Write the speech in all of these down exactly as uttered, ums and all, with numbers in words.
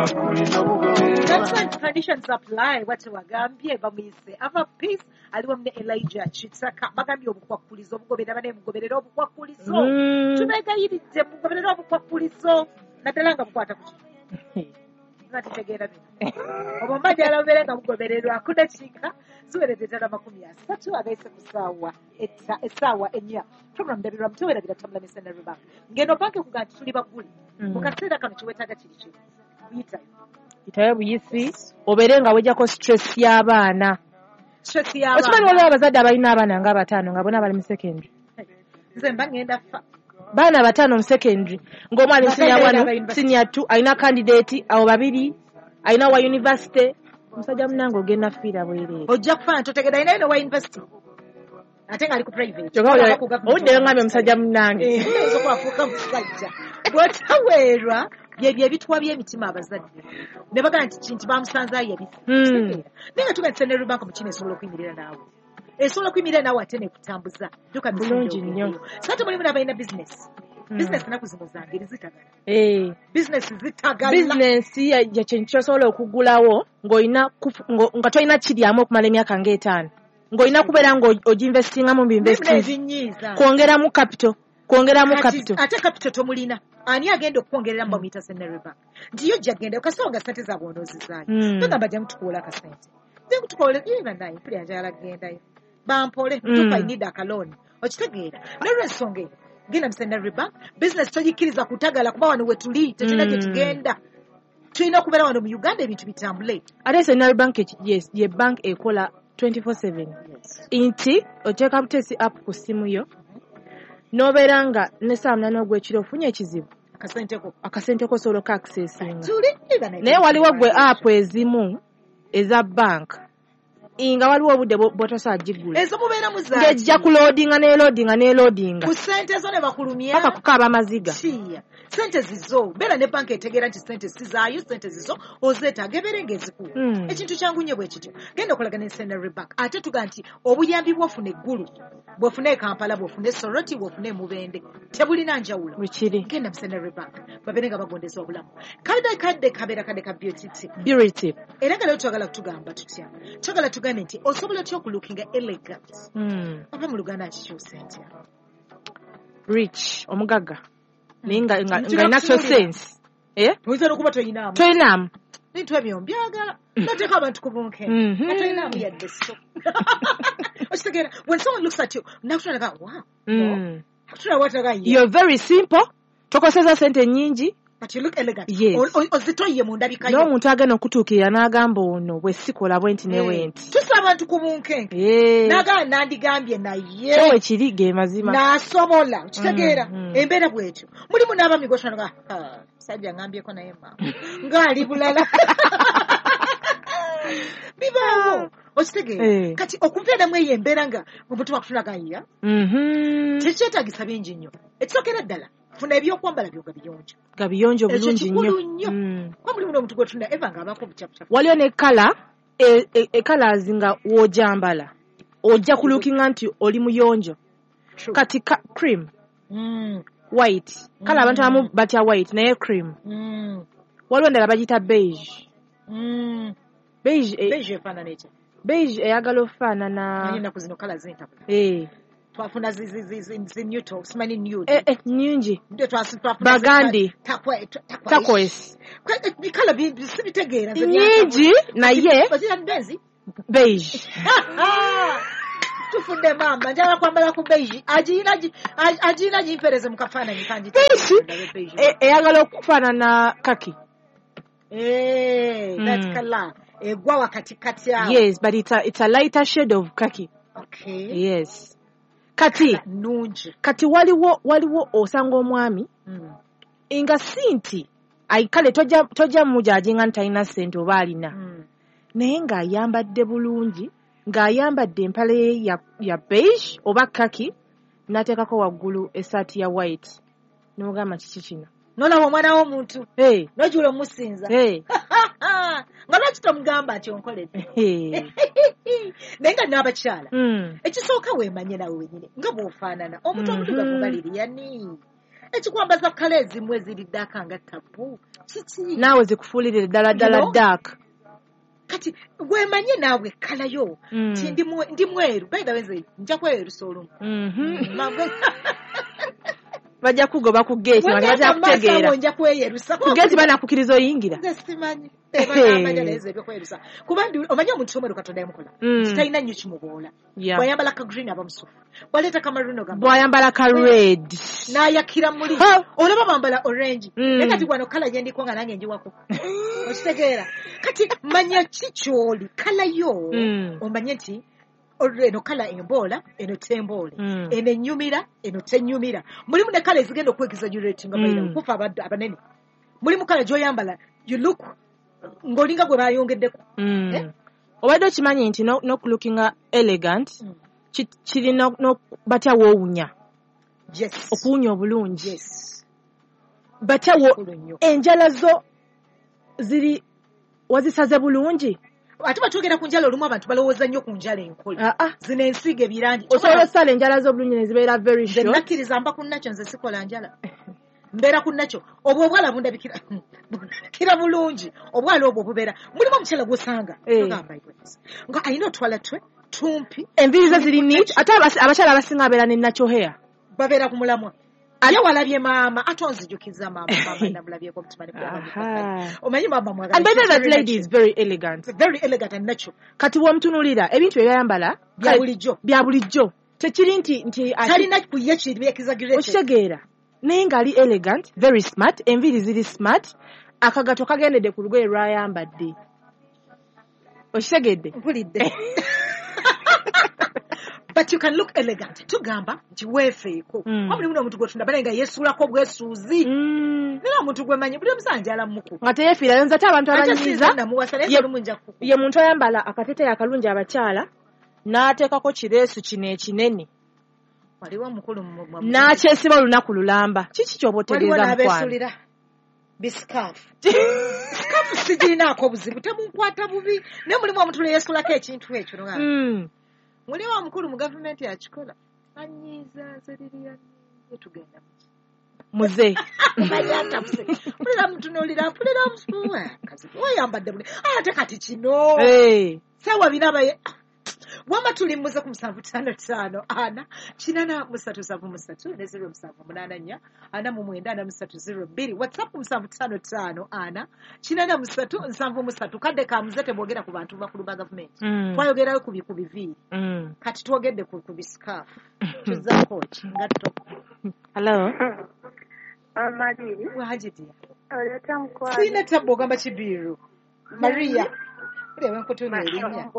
Terms and conditions apply. Wati wagambye bamuyise Ava Peace aliwo ne Elijah Kitaka bagambye obukwakulizo obugoberera bane mugoberera obukwakulizo Mm. tubegayiridde mugoberera obukwakulizo naddala nga bukwata ku ki nga tutegeera bino obwo mbajala bubeere nga bugobererwa ku dakiika ziweredde ddala makumi asatu agaise ku ssaawa etta- essaawa ennya. Program Ndabirwamu tewerabira tutambula ne Centenary Bank ngeno banki okuga nti tuli baggule Mm. mu kaseera kano kyeweetaaga kiri kimu kuyitayo Itayo buyisi obeere nga wejjako stress y'abaana. Stress Okimanyi y'abaana. Waliwo abazadde abalina abaana nga bataano nga bonna bali mu secondary. Nze mba ngenda fa. Baana bataano mu secondary ng'omu ali mu senior Nga one, university. Senior two, alina candidate abo babiri, alina wa university. Musajja munange ogenda fiira bwereere. Ojja kufaana totegedde alina eno wa university ate ng'ali ku private. Kyokka Olaba ku government. Owuddeyo ngambye musajja munnange. Eh, oyinza okubafuuka musajja bw'otaweerwa byebyo ebituwa by'emitima abazadde ne bagamba nti kinti bamusanze ayabise. Hmm. Kitegeera naye nga tuga nti Centenary Bank mu kino esobola okuyimirira naawe esobola okuyimirira naawe ate nekutambuza dduka misinde. Bulungi nnyo. Ogendeyo so ate mulimu n'abalina bizinesi. Hmm. Bizinesi ennaku zino zangeri zitagala. Eh. Bizinesi zitagala. Bizinensi ya ya kintu ky'osobola okugulawo ng'olina kufu- ngo- nga tolina kiryamu okumala emyaka ng'etaano ng'olina kubeera ng'oginvestingamu mu Mulimu binvesting n'ebinyiiza. Kwongeramu capital, kwongeramu Kati capital. Ate capital tomulina ani agenda okukwongerera bamuyita Centenary Bank nti yo jja genda okasawo nga sente zaabwe onoozizaayo. Mm. Togamba jangu tukuwola akasente jangu tukuwole ye bannaye mpulira njagala kugendayo bampole. Mm. Tupa I need akalooni okitegeera nolwensonga eyo genda mu Centenary Bank business togikkiriza kutagala kuba wano we tuli tetulina gye Mm. tugenda tulina okubeera wano mu Uganda ebintu bitambule. Ate Centenary Bank eki- yes ye bank ekola twenty-four seven nti oteeka buteesi app ku ssimu yo n'obeera nga ne saa munaana ogw'ekiro ofunye ekizibu akasenteko akasente kosobola okaccessinga. Tuli. Naye waliwo gwe app ezimu eza bank nga waliwo obudde bwo- bw'otosobola gigula ezo mubeeramu ng'ejja kuloadinga n'eloadinga n'eloadinga ku sente zo ne bakulumya paka kukaaba amaziga. Kiya sente zizo beera ne banka etegeera nti sente sizaayo sente zizo ozeetaaga ebeere ng'ezikuwa. Mm. Ekintu kyangu nnyo bwe kityo genda okolagana ne Centenary Bank ate tuga nti obuyambi bw'ofuna eggulu bw'ofuna e Kampala bw'ofuna e Soroti bw'ofuna e Mubende tebulina njawulo. Bwekiri. Genda mu Centenary Bank babeere nga bagondeza obulamu kadde kadde kabeera kadde ka beauty tip. Beauty tip. Era nga leero twagala kutugamba tutya twagala tugambe nti osobola otya okulookinga elegant Mm. oba mu Luganda nkikyuse ntya? Rich omugagga naye nga nga- Nti nga alina so nakutunuulira. sense, eh? Oyinza n'okuba toyinaamu. Toyinaamu. Bintu ebyo mbyagala noteeka abantu ku bunkenke Mhm. nga toyinaamu yadde so okitegeera when someone looks at you nakutunulaga wow. Mm. Akutula wataga ye. You're very simple tokoseza sente nyingi. But you look elegant. Yes. O- o- ozitoyiye mu ndabika yo. N'omuntu agenda okutuukirira n'agamba ono bwe sikola bwe nti ne bwe nti. Tusa abantu ku bunkenke. Eh. Nagamba nandigambye naye Kyo wekiri ge mazima. N'asobola okitegeera Mm, mm. embeera bwetyo mulimu n'abami gotwanaga sajja ngambyeko naye maama ng'ali bulala bibaawo okitegeera. Eh. Kati okubeeramu eyo embeera nga omuntu wakutulaga ya Mhm. tekyetaagisa bingi nnyo ekisookera ddala funa ebyokwambala byo nga biyonjo. Nga biyonjo Ekyo bulungi kikulu nnyo. nnyo. Mm. Kuba mulimu n'omuntu gwetunda eva ng'abaako obucapucapu. Waliwo ne colour e colours nga w'ogyambala ojja kulookinga nti oli muyonjo. True. Kati ka- cream, Mm, white kale abantu Mm. abamu batya white naye cream. mm, Waliwo endala bagiyita beige. mm. Beige eh, Beige efaanana etya? Beige eyagala okufaanana Manyi ennaku zino colour zintabula. Eh, Twafuna zi- zi- zi- zi- zi neutral simanyi nude. eh, eh, nnyingi. Ndio twasi- twafuna zi- Burgundy. takwa- takwa- Turquoise. Kwe- eh, bikala bi- bi- sibitegeera nze. Nnyingi naye Bazira benzi. Beige. Tufudde maama njagala kwambala ku beige agiyina gi- agi- agiyina gimpeereze mu kafaananyi kangi. Beige e- eyagala okufaanana kaki. Eh, that Mm. color egwa wakatikati awo. Yes, but it's a, it's a lighter shade of khaki. Okay. Yes, kati nnungi. Kati waliwo waliwo osanga omwami Mm. nga si nti ai kale tojja tojja mujudginga nti talina ssente oba alina Mm. naye ng'ayambadde bulungi ng'ayambadde empale ye ya, ya beige oba kaki n'ateekako waggulu essaati ya white n'ogamba kiki kino. Nolaba omwana w'omuntu Hey, nojula omusinza hey, nga lwaki tomugamba nti onkoledde? Hey. Naye nga n'abakyala Mm. ekisooka weemanye nawe wenyini nga bw'ofaanana omuntu Mhm. omuddugavu nga Liriyani Ekikwambaza kale ezimu eziri dark nga tabu. Kiki? Naawe zikufuulirire ddala ddala You know? dark. Kati wemanye naawe colour yo. Mm. Ti ndi mwe- ndi mweru. By the way, nze nja kweyerusa olumu. Mhm. Magwe- Bajja kugoba ku gate, Bwe nga ngenda bajja mu maaso kutegeera. awo nja kweyerusa. Ku gate banakukkiriza oyingira. Nze simanyi. Tebanamanya naye nze ebyokweyerusa. Kuba ndi omanyi omuntu omweru Katonda yamukola. Mm. Talina nnyo kimuboola. Yeah. Bw'ayambala ka green aba musufu. Bw'aleeta ka maroon ogamba Bw'ayambala ka red. n'ayakira muli. Ha! Olaba bambala orange. Mm. Naye kati wano colour gye ndiko nga nange njiwako. Okitegeera? Kati manya ki ky'oli, colour yo Mm. omanye nti olwo eno colour emboola, eno temboole. Mm. Eno ennyumira, eno tennyumira. Mulimu ne colour ezigenda okwexaggeratinga Mm. by the way, kufa abaddu abanene. Mulimu colour gy'oyambala, you look ng'olinga gwe bayongeddeko. Mm. Eh? Obadde okimanyi nti no- n'okulookinga elegant Mm. ki- kirina no- batya woowunya. Yes. Okuwunya obulungi. Yes. Batya wo Kikulu nnyo. enjala zo ziri wazisaze bulungi. Ate batwogera ku njala olumu abantu balowooza nnyo ku njala enkole. Ah, ah. Zino ensiiga ebirangi. Osobola osala enjala zo obulungi ne zibeera very Nze short. nakkiriza mba ku nakyo nze sikola njala. Mbeera ku nakyo. Obwo obwala bundabikira bundabikira bulungi. Obwala obwo bubeera. Mulimu omukyala gw'osanga. Eh. Togamba goodness. Nga alina otwala twe tumpi Enviiri ze ziri neat ate abasi- abakyala abasinga babeera ne natural hair. babeera ku mulamwa. Ye walabye maama ate onzijukiza maama maama namulabyeko omutima ne gugamba Aha. Omanyi maama mwagala. And by the way, that Very lady is very elegant. natural. Very elegant and natural. Kati bw'omutunuulira ebintu bye byayambala Bya bulijjo. bya bulijjo. Tekiri nti nti ati- Talina ku ye kiri exaggerated. okitegeera naye ng'ali elegant very smart enviiri ziri smart akagato kagendedde ku lugoye lw'ayambadde okitegedde Mpulidde. But you can look elegant. Tugamba nti weefeeko. Mm. Kuba mulimu n'omuntu gw'otunda bale nga yeesuulako bwesuuzi. Mm. Naye omuntu gwe mmanyi buli omusanja alamuku. Nga teyeefiirayo nze ate abantu Ate abanyiiza sinza namuwasa naye ye- olumu nja kukuba. ye muntu ayambala akateteeyi akalungi abakyala n'ateekako kireesu kino ekinene Waliwo omukulu mu- mu- n'akyesiba olunaku lulamba kiki ky'oba Waliwo otegeeza mukwano n'abeesulira bisikaafu. Sikaafu sigirinaako obuzibu temunkwata bubi naye mulimu omuntu lwe yeesulako ekintu ekyo nogamba. Mm. Mulimu omukulu mu gavumenti akikola. Anyiiza nze liri anyiize tugenda mu ki. Muze Manyi atabuse. Mpulira mutunuulira mpulira omusuwa. Kazi wayambadde buli ate kati kino. Eh. Saawa bina abaye wama tuli muze ku musanvu ttaano ttaano ana kinana musatu nsanvu musatu ne zero musanvu munaana nnya ana mu mwenda ana musatu zero bbiri WhatsApp ku musanvu ttaano ttaano ana kinana musatu nsanvu musatu kadde ka muze temwogera ku bantu bakulu ba gavumenti. Mm. Twayogerayo ku bi- ku biviiri. Mm. Kati twogedde ku ku bisikaafu. Tuzzaako ki ngatto. Hello. Amaliri Wangi dear. oleeta mukwano. Sirina tabbu ogamba kibiiru. Maria. Buli abenkutuuma erinnya.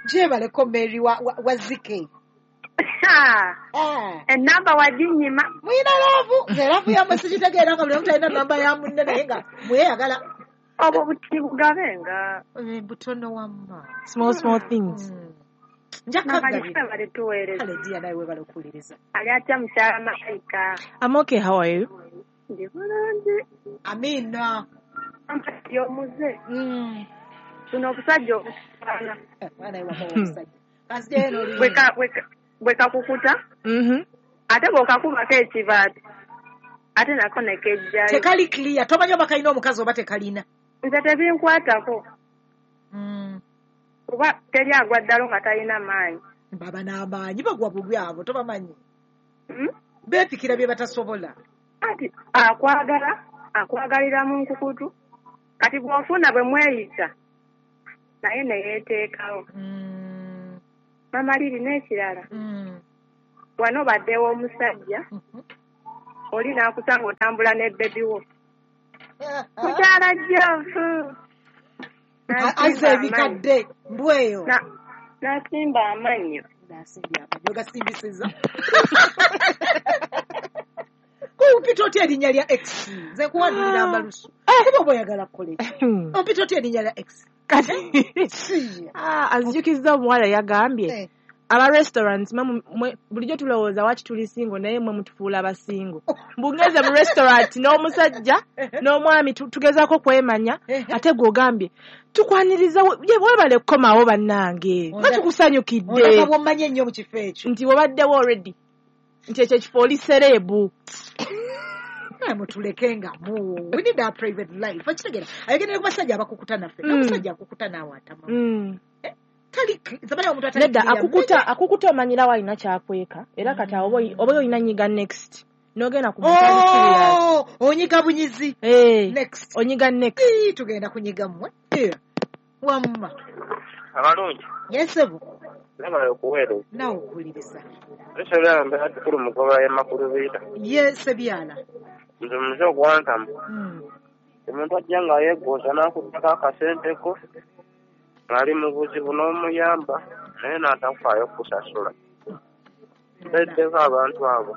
Gyebaleko Mary wa, wa, wa Zike. Ah. Enamba waginyima. Muyina love nze love yammwe sigitegeera nga buli omu talina namba ya munne naye nga mweyagala. Obwo buti bugabenga. Eh, butono wamma. Small small things. Mm. Nja Mamaliri kagabira. bale tuweereza. Kale dear nawe weebale okuwuliriza. Ali atya mukyala Malayika? I'm okay, how are you? Ndi bulungi. Amiina. Amaliri omuze. Mm. Buno obusajja obusaana. Eh, mwana we wamma omusajja. Kanzijeyo n'oluyimba. Bwe ka- bwe ka- bwe kakukuta Mhm. ate bw'okakubako ekibaati ate nako ne kejjayo. Tekali clear tomanyi oba kalina omukazi oba tekalina. Nze tebinkwatako Mm. kuba teri agwa ddalo nga talina maanyi. Baba n'amaanyi bagwa bubi abo tobamanyi. Hmm? Beepikira bye batasobola. Anti akwagala akwagalira mu nkukutu kati bw'ofuna bwe mweyisa naye ne yeeteekawo. Mm. Mamaliri n'ekirala Mm. wano obaddewo omusajja Mhm. oli n'akusanga otambula ne bebi wo. Mukyala Jofu. Azza ebikadde mbweyo. Na- N'asimba amannyo. Nasimbye amannyo gasimbisiza. Kumpita otya erinnya lya X? Nze nkuwanulira amalusu. Kuba oba oyagala kukola eki? Hmm. Ompita otya erinnya lya X? Kati Si. Ah, anzijukizza omuwala yagambye Eh. aba restaurants mwe mwe- bulijjo tulowooza waki tuli single naye mwe mutufuula abasingo mbungeze mu restaurant n'omusajja n'omwami tu- tugezaako kwemanya ate gw'ogambye tukwaniriza we- ye webale kukomawo bannange nga Onda- tukusanyukidde Ondaba bw'ommanyi ennyo mu kifo ekyo. nti wabaddewo already nti ekyo ekifo oli celeb. Naye mutuleke nga mu we need our private life. Okitegeera, ayogerera ku basajja abakukuta naffe. Mm. N'omusajja akukuta naawe atama. Mm. Tali zabala omuntu atali Nedda clear. akukuta akukuta omanyirawo alina kyakweka era kati awo oba oyi- oba olina nyiga next n'ogenda ku muntu ali serious. Oh, onyiga bunyizi. Eh, Next. onyiga next. Ii, tugenda kunyiga mmwe. Eh, Wamma. Abalungi Yesebo, nabala okuweereza naawe okuwuliriza. ekyolaba mbeera kikulu mugoba y'amakulu biita Ye Sebyala. nze muze ogwantamu Mm. omuntu ajja nga yeegooza n'akuddako akasente ko ng'ali mu buzibu n'omuyamba naye n'atakufaayo okukusasula mbeddeko abantu abo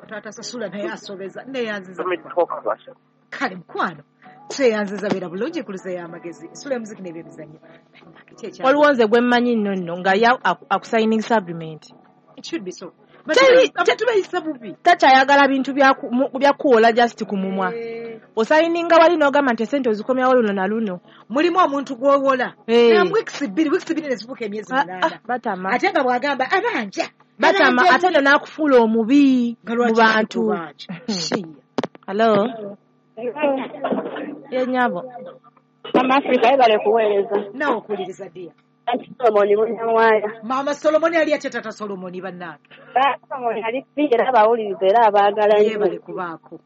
Taata sasula naye asobeza neyanziza. tumiddeko kabasa. Kale mukwano. Tweyanziza beera bulungi kuluza y'amagezi. Sula emuziki n'ebyemizannyo. Ki ekya- Waliwo nze gwe mmanyi nno nno nga ye aku- akusigning agreement. It should be so. Teri- Abantu bayisa bubi. Takyayagala bintu bya ku- mu- bya kuwola just ku mumwa. Eh, Osayininga wali n'ogamba nti esente ozikomyawo luno na luno. Mulimu omuntu gw'owola. Eh. Na weeks bbiri, weeks bbiri ne zifuuka emyezi Ah, ah, munaana. batama. Ate nga bw'agamba abanja. Batama Abanja ate nno n'akufuula omubi Nga mu lwaki bantu. kubanja? Shiya. Hello? Ye nnyabo. Mama Africa yebale kuweereza. Naawe okuwuliriza dear. Anti Solomoni Munyamwaya. Maama Solomoni ali atya taata Solomoni bannange? Solomoni ali free era abawuliriza era abaagala nnyo. Yeebale kubaako.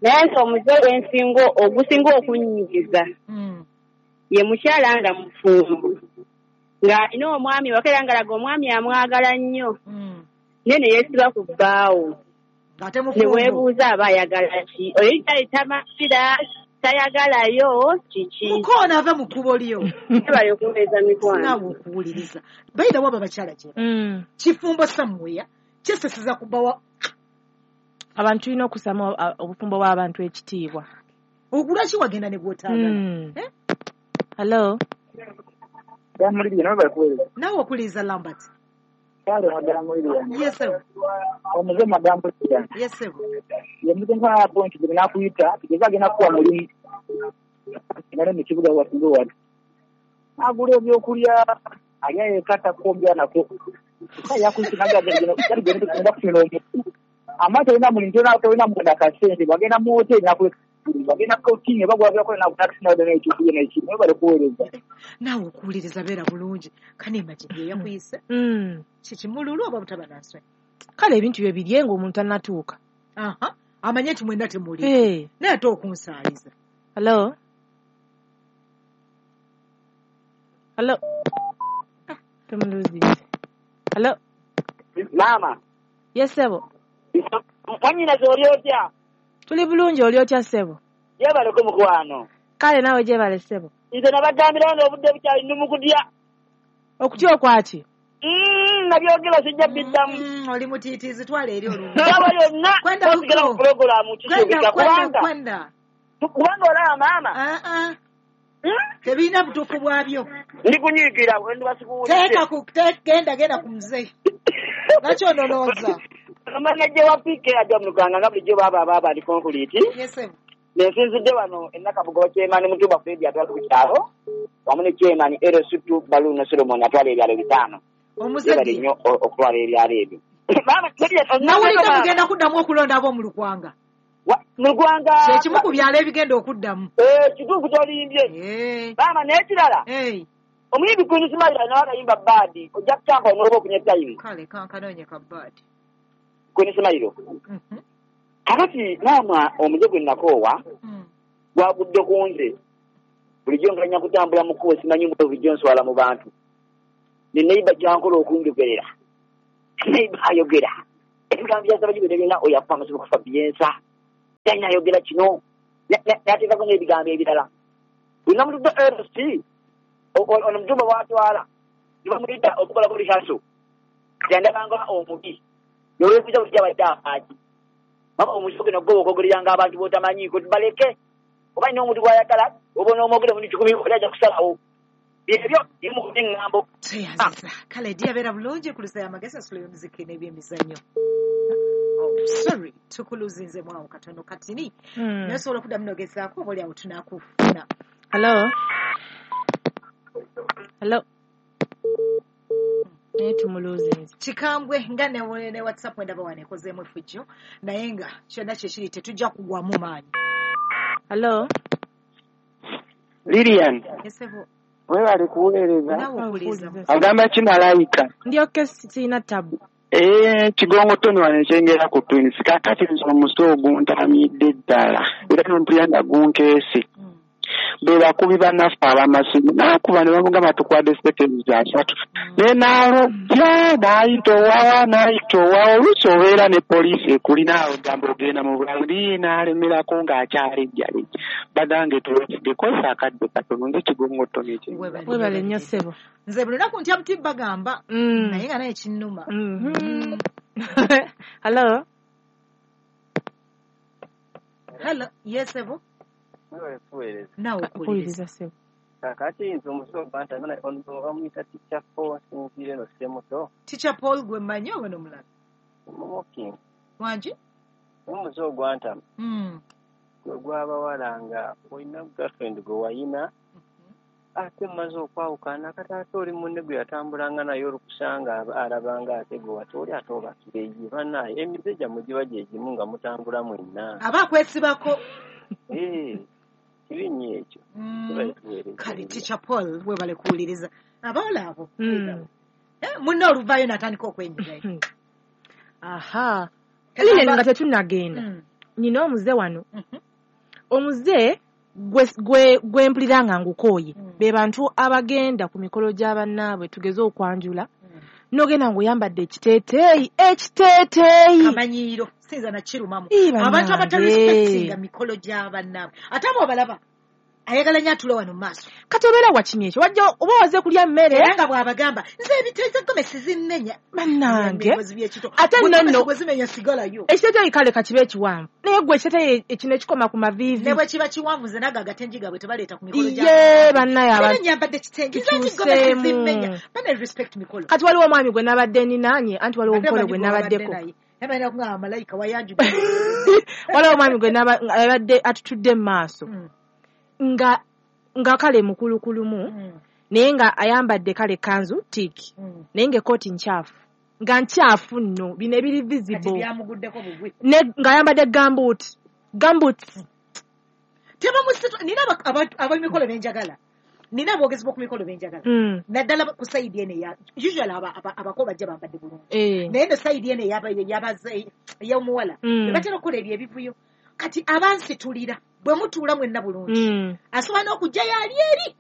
Naye nti omuze gwensinga ogusinga okunnyigiza Mm. ye mukyala nga mufumbo ng'alina omwami waka era ng'alaga omwami amwagala nnyo Mm. naye ne yeesiba ku bbaawo Ng'ate ne mufumbo. weebuuza aba ayagala ki oyo tamasira tayagalayo kiki. Mukoona ava mu kkubo lyo. Yebale okuweereza mikwano. Naawe okuwuliriza. Bayira waba bakyala gye. Mm. Kifumbo somewhere kyeseseza kubawa Abantu tulina okussamu a- obufumbo bw'abantu ekitiibwa. Lwaki wagenda ne gw'otaagala? Mm. Eh? Hello? Damulirye nawe bakuweereza. Naawe okuwuliriza Lambert. Kale madamulirye. Yes sir. Omuze madamulirye. Yes sir. Ye muze nkola point gye nakuyita tugeze agenda kuwa mulimu. Nale mu kibuga wasinga watu. Agula ebyokulya alya yekka takukombya nako. Kyokka yakuyita n'agamba kali gye tugenda kufuna omuntu. Ama tolina mulimu tolina tolina munda kasente bagenda mu hoteri nakuleka bagenda ku bagula byakola nakutakisina n'ekyokulya n'ekimu nawe balikuweereza. Naawe okuwuliriza beera bulungi. Kane imagine ye yakuyise. Mm. Kikimululu oba butaba na nsonyi? Kale ebintu bye birye ng'omuntu tannatuuka. Aha. Amanye nti mwenna temuli. Hey. Naye ate okunsaaliza. Hello? Hello? Tumuluzize. Hello? Maama. Yes ssebo. Mwannyinaze oli otya? Tuli bulungi oli otya ssebo? Yeebaleko mukwano. Kale naawe gyebale ssebo. Nze nabagambirawo n'obudde bukyali ndi mu kutya. Okutya okwaki? Mm, nabyogera sijja biddamu. Mm, oli mutiitiizi twala eri olumu. Saawa yonna Kwenda osigala huko. mu pulogulaamu Kwenda kisuubika kwenda kubanga kwenda. kubanga olaba maama. Ah ah. Mm? Tebirina butuufu bwabyo. Ndi kunyiigira bwe ndiba sikuwulidde. Teeka ku te- genda genda ku muzeeyi. Lwaki onolooza? Manajja wa P K ajja mu Luganga nga bulijjo baaba baaba ali konkuliiti. Yes sir. Nensinzidde wano e Nakabugo chairman Mutuba Fred atwala ku kyalo wamu ne chairman L S two Baluno Solomon atwala ebyalo bitaano. Yeebale Omuzadde. nnyo o- okutwala ebyalo ebyo. Maama teri- Nawulidde mugenda kuddamu okulonda ab'omu Lukwanga. Wa- mu Lugwanga Kye kimu ku byalo ebigenda okuddamu. Eh, kituufu ky'olimbye. Eh. Maama n'ekirala Hey. omuyimbi Queen Smile nawe akayimba baadi ojja kukyampa n'oba ofunye time. Kale kankanoonye ka baadi. Queen Smile. Mhm. Kakati maama omuze gwe nakoowa Mm. gwagudde ku nze. Bulijjo nganya kutambula mu kkubo simanyi mbwe bulijjo nswala mu bantu. Ne neighbor kyankola okunjogerera. Neighbor ayogera. Ebigambo bya Ssabajji byonna byonna oyo afa amaze okufa byensa. Talina ayogera kino. N'ateekako n'ebigambo ebirala. Bwe namutudde L C, o- o- ono Mutumba bw'atwala, ne bamuyita okukolako rehearsal. Kati andabanga omubi. N'olwekuza bulijjo abadde afaaki. Mama omuzigo guno gwo okwogereranga abantu b'otamanyiiko baleke. Oba alina omuntu gw'ayagala, oba onoomwogera omuntu kikumi oli ajja kusalawo. Byebyo bimu ku by'eŋŋambo. Tweyanziza. Kale ddi abeera bulungi ku lusa y'amagezi asulo y'omuziki n'ebyemizannyo. Oh, sorry, tukuluzinzemu awo katono katini. Mm. Naye osobola okuddamu n'ogezaako oba oli awo tunaakufuna. Hello? Hello? Naye tumuluzinze. Kikambwe nga ne, ne WhatsApp ndaba wano ekozeemu effujjo, naye nga kyonna kyekiri tetujja kugwamu maanyi. Hello? Lilian. Yes, ebo. Webale kuweereza. Naawe okuwuliriza. Agamba ki malayika? Ndyoke sirina tabu. Eh, Kigongo Tony wano ekyengera ku Twins. Kaakati nze omuze oguntamidde ddala. Era n'ompulira nga gunkeese. Be bakubi bannaffe ab'amasimu. N'akuba ne bamugamba tukuwadde seconds asatu. Naye n'alojja, n'ayita owawa, n'ayita owawa. Oluusi obeera ne poliisi ekulina awo ogamba ogenda mu bulamu. Naye n'alemerako ng'akyalejjalejja. Bagange tulwetidde kozesa akadde katono. Nze Kigongo Tony ekyengera. Webale nnyo ssebo. Nze buli lunaku ntya buti bagamba, Mm. naye nga naye kinnuma. Mhm. Hello? Hello, yes, ebo. Webale kuweereza. Naawe okuwuliriza. Okuwuliriza ssebo. Kaakati nze omuze ogwantamye ono bamuyita Teacher Paul asinziira eno Ssemuto. Teacher Paul gwe mmanyi oba n'omulala? Mumuki. Wangi? Omuze ogwantamye Mm. gwe gw'abawala nga olina girlfriend gwe wayina ate mumaze okwawukana kati ate oli munne gwe yatambulanga naye olukusanga alabanga ate gwe wate oli ate obakireyi bannaaye emize gyammwe giba gye gimu nga mutambula mwenna. Aba akwesibako. Eh, kibi nnyo ekyo. Mm. Webale kuweereza. Kale Teacher Paul webale kuwuliriza. Abawala abo. Mm. Eh, munne oluvaayo n'atandika okwenyigayo. Aha. Lilian nga tetunnagenda. Mm. Nina omuze wano. Mhm. Omuze gwe, gwe, gwe mpulira nga ngukooye. Mm. Be bantu abagenda ku mikolo gya bannaabwe tugeze okwanjula. Mm. N'ogenda ng'oyambadde ekiteeteeyi, ekiteeteeyi. Kamanyiiro sinza nakirumamu. Ii, bannange. Abantu abatarespectinga mikolo gya bannaabwe. Ate abo obalaba ayagala nnyo atule wano mu maaso. Kati obeera wakimye ekyo, wajja oba waze kulya mmere. Era nga bw'abagamba nze ebiteeteeyi gomesi zinnenya. Bannange. Ebyozi by'ekito. Ate Bwe nno gomesi nno bwe zimenya sigalayo. Ekiteeteeyi kale kakibe ekiwanvu. Naye gwe ekiteeteeyi ekino ekikoma ku maviivi. Ne bwe kiba kiwanvu nze nago agatengi gaabwe tebaleeta ku mikolo gya Ye bannaye Era abantu. nyambadde kitenge. Nze nti gomesi Tukyuseemu. zimmenya. Bane respect mikolo. Kati waliwo omwami gwe nabadde ninaanye, anti waliwo Ate omukolo manyi gwe gwe wabadde nabaddeko. naye. Naye balina kugamba malayika wayanjudde. Waliwo omwami gwe naba- abadde atutudde mu maaso. Mm. Nga nga kale mukulukulumu, Mm. naye nga ayambadde kale kanzu tiiki, Mm. naye ng'ekkooti nkyafu. Nga nkyafu nno, bino ebiri Kati visible. byamuguddeko bugwi. Ne ng'ayambadde gumboot. Gumboots. Tebamusitu nina aba- abantu ab'emikolo be njagala. Nina aboogezi b'oku mikolo be njagala. Mm. Naddala ku sayidi eno eya usually aba- aba- abako bajja bambadde bulungi. Eh. Naye eno sayidi eno ey'aba- ey'abaze- ey'omuwala. Mm. Be batera okukola ebyo ebivuyo. Kati abansitulira bwe mutuula mwenna bulungi. Mm. Asobola n'okujjayo ali eri.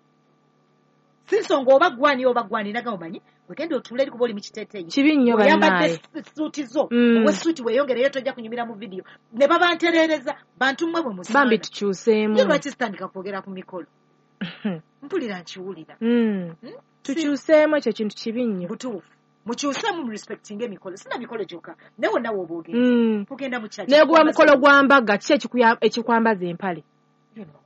Si nsonga oba gwani oba gwani naga omanyi wegenda otuula eri kuba oli mu kiteeteeyi. Kibi nnyo Oyambadde bannaaye. suuti zo, Mm. owe suuti weeyongereyo tojja kunyumira mu vidiyo. Ne babantereereza bantu mmwe bwe musaana. Bambi tukyuseemu. Ye lwaki sitandika kwogera ku mikolo? Mpulira nkiwulira. Mm. Hmm? Tukyuseemu ekyo kintu kibi nnyo. Butuufu. Mukyuseemu mu respectinga emikolo. Sina mikolo gyokka. Naye wonna w'oba ogenda. Mm. Ogenda mu church. Naye guba mukolo gwa mbaga, ki ekikuya- ekikwambaza empale? You know.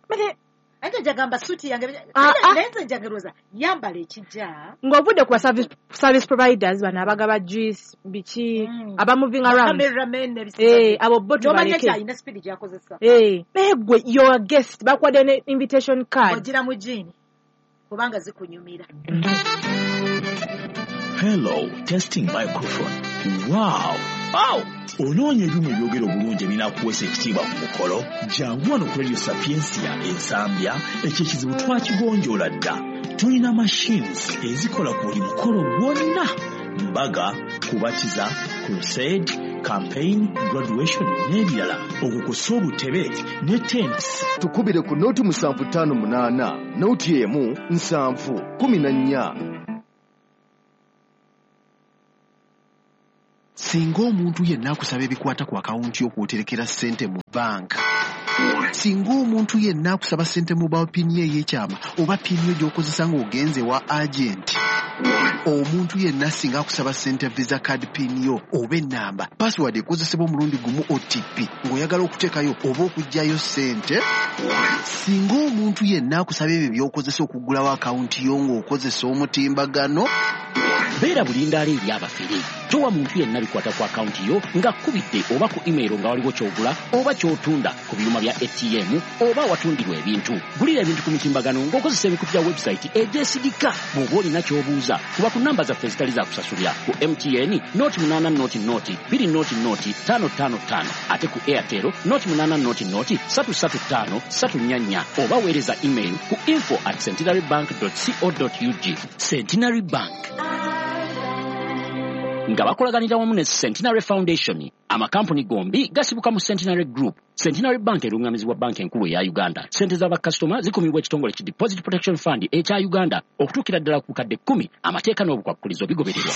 Bale, Ate njagamba suuti yange. Ah, ah. Naye nze njagerooza yambala ekijja. Ng'ovudde ku ba service, service providers bano abagaba juice, biki, Mm. aba moving around. Cameramen n'ebisigadde. Eh, abo bo N'omanya tubaleke. nti alina speed gy'akozesa. Eh, naye gwe your guest bakuwadde ne invitation card. Ogira mu jean kubanga zikunyumira. Hello, testing microphone. Wow! Wow! Onoonya ebyuma ebyogera obulungi ebinaakuweesa ekitiibwa ku mukolo? Jangu wano ku Radio Sapientia Ensambya, ekyo ekizibu twakigonjoola dda. Tulina machines ezikola ku buli mukolo gwonna. Mbaga, kubatiza, crusade, campaign, graduation n'ebirala. Okwo kw'ossa obutebe ne tents. Tukubire ku nooti musanvu ttaano munaana, nooti emu nsanvu kumi na nnya. Singa omuntu yenna akusaba ebikwata ku akawunti yo kw'oterekera ssente mu banka, singa omuntu yenna akusaba ssente mobile pin ye ey'ekyama oba pin yo gy'okozesa ng'ogenze wa agenti, omuntu yenna singa akusaba ssente visa card pin yo oba ennamba, password ekozesebwa omulundi gumu O T P ng'oyagala okuteekayo oba okuggyayo ssente, singa omuntu yenna akusaba ebyo by'okozesa okuggulawo akawunti yo ng'okozesa omutimbagano, Beera bulindaala eri abafere. Towa muntu yenna bikwata ku akawunti yo ng'akubidde oba ku email nga waliwo ky'ogula oba ky'otunda ku byuma bya A T M oba awatundirwa ebintu. Gulira ebintu ku mitimbagano ng'okozesa emikutu gya website egyesigika. Bw'oba olina ky'obuuza kuba ku namba zaffe ezitali za kusasulira ku M T N noti munaana noti noti bbiri noti noti ttaano ttaano ttaano, ate ku Airtel noti munaana noti noti ssatu ssatu ttaano ssatu nnya nnya, oba weereza email ku info at centenary bank dot co dot ug. Centenary Bank nga bakolaganira wamu ne Centenary Foundation. Amakampuni gombi gasibuka mu Centenary Group. Centenary Bank erungamizibwa banka enkulu eya Uganda. Ssente z'abakasitoma zikumibwa ekitongole ki Deposit Protection Fund ekya Uganda okutuukira ddala ku bukadde kkumi. Amateeka n'obukwakkulizo bigobererwa.